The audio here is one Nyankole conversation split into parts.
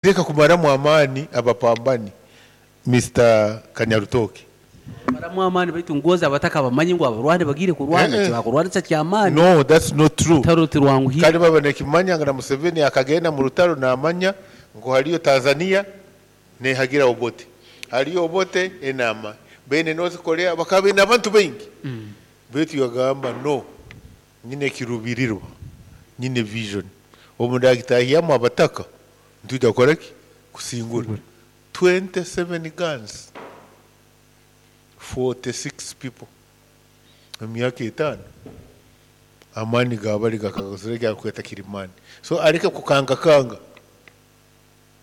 Reka kumaramu amaani abapambani Mister Kanyarutooke. Bamaramu amaani baitu ngonzi abataka bamanye ngu abarwani bagiire kurwana Eh eh. tibakurwanisa kyamaani. No that's not true. Orutaro tirwanguhire. Kandi baba nekimanya ngu na Museveni akagenda mu rutaro namanya ngu hariyo Tanzania nehagira Obote. Hariyo Obote enama. Bene North Korea bakaba baine abantu baingi. Beitu yagamba no nyine ekirubirirwa, nyine vision. Obu ndagitahyamu abataka nitwija kukora ki? Kusingura. 27 guns, 46 people omu myaka etaano. Amaani ga bari gakagozire eki arikweta kirimaani. So areke kukangakanga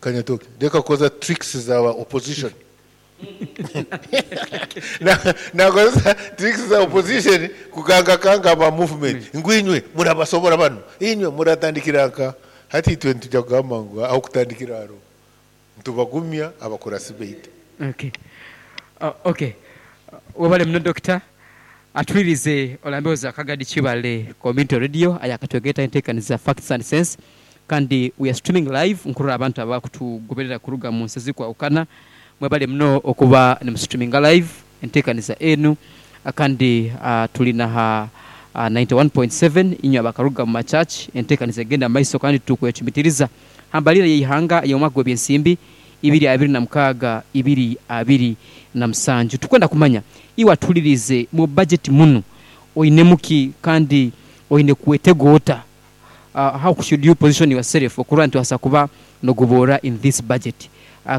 Kanyatoke, reka kukozesa tricks za ba opposition. Nakozesa tricks za opposition kukangakanga aba movement ngu inywe murabasobora banu, inywe muratandikira nka. Hati itwe nitwija kugamba ngu ah'okutandikira hariho. Nitubagumya abakurasi baitu. Okay. Okay. Webale muno Dokita. Atwirize olambeho za Kagadi Kibale Community Radio ayakatwegeta entekaniza Facts and Sense kandi we are streaming live nkurora abantu abakutugoberera kuruga munsi ezikwahukana mwebale muno okuba nimu streaminga live entekaniza enu kandi tuli na ha 91.7 inywe abakaruga mu ma church entekaniza egenda mumaiso kandi tukwecumitiriza hambalira yeihanga eyomwaka gwebyensimbi 2026 2027. Tukwenda kumanya iwe atulirize mu budget munu oinemuki kandi oine kwetega ota? How should you position yourself okurora nti obaasa kuba nogoboora in this budget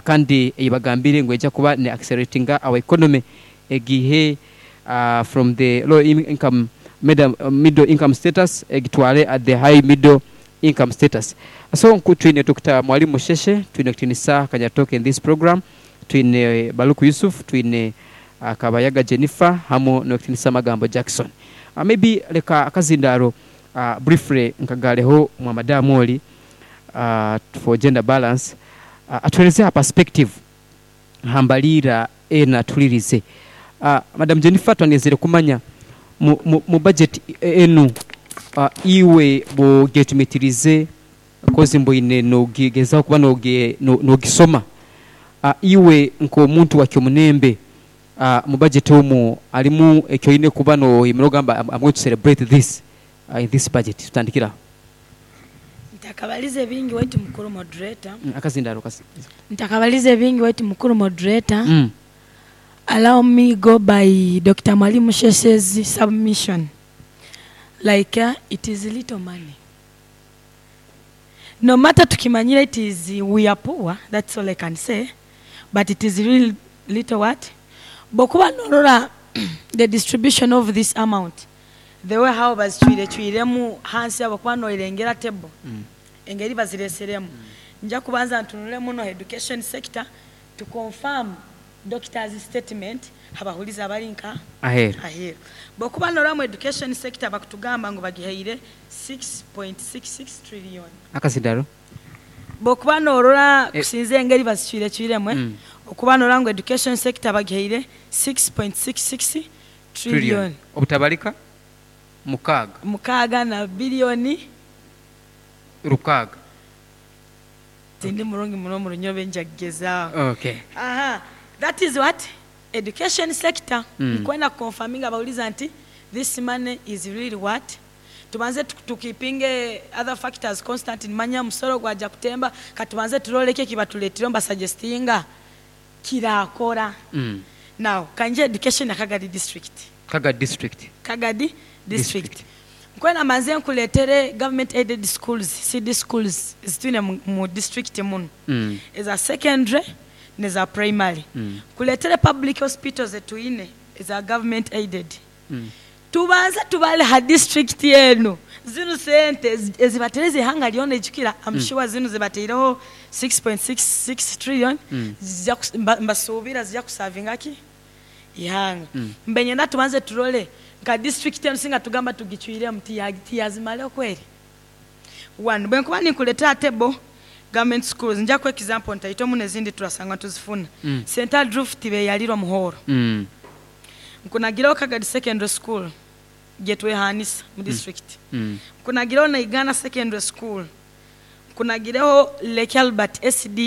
kandi eyibagambire ngu eija kuba ne acceleratinga our economy egiihe from the low income middle income status egitwale at the high middle income status. So nku twine Dokita Mwalimu Musheshe, twine Kutinisa Kanyatoke in this program, twine Baluku Yusuf, twine Kabayaga Jennifer hamu n'Okutinisa Magambo Jackson. Maybe leka akazindaaro briefly nkagaaleho mwa madam oli for gender balance atuheereze ha perspective ha mbaliira eno atulirize. Madam Jennifer twandyenzire kumanya mu budget enu iwe bwogyetumitirize kozi mboine nogezaho kuba nogisoma, iwe nk'omuntu wa Kyomunembe mu budget omwo alimu ekyoine kuba noyemerera ogamba am going to celebrate this in this budget? Tutandikire agho. Ntakabalize bingi waitu mukulu moderator. Akazindaalo kasi. Ntakabalize bingi waitu mukulu moderator. Allow me go by Dokita Mwalimu Sheshe's submission like it is little money no matter tukimanyire it is we are poor that's all I can say but it is really little what bwokuba norora the distribution of this amount the way how bazicwirecwiremu hansi aho bwokuba noirengera table engeri bazireseremu nja kubanza ntunule muno education sector to confirm Doctor's statement habahuliza abari nka Aheeru. aheeru. Bwokuba norora omu education sector bakutugamba ngu bagihaire 6.66 trillion. Akazindaro. Bwokuba norora kusinzira engeri bazicwirecwiremu okuba norora ngu education sector bagihaire 6.66 trillion. Obutabalika mukaaga. Mukaaga na billion. Rukaaga. Tindi murungi muno omu runyobe nja kugyezaho. Okay. Aha, that is what education sector nkwenda ku confirminga abahuliza nti this money is really what tubanze tu keepinge other factors constant nimanya omusoro gwaja kutemba katubanze turole eki ekibaturetire nibasuggestinga kirakora. Now kangye education ya Kagadi district. Kagadi district. Kagadi district. Nkwenda mbanze nkureetere government aided schools, CD schools ezitwine mu district munu eza secondary neza primary. Nkureetere public hospitals zetwine eza government aided. Tubanze tubare ha district enu zinu sente ezibatereza eihanga ryona ijukira am sure zinu zibateireho 6.66 trillion mbasuubira zija kusavinga ki? Eihanga. Mbe niinyenda tubanze turore nka disiturikiti enu singa tugamba tugicwiremu tiyazimara kweri? One, bwenkuba ninkureetera table government schools nja kuha example ntaito muno ezindi turasanga nituzifuna. St Andrew tibeyarirwa omu hall. Nkunagireho Kagadi Secondary School gyetwehanisa mu disiturikiti. Nkunagireho Naigana Secondary School. Nkunagireho Leki Albert SDA.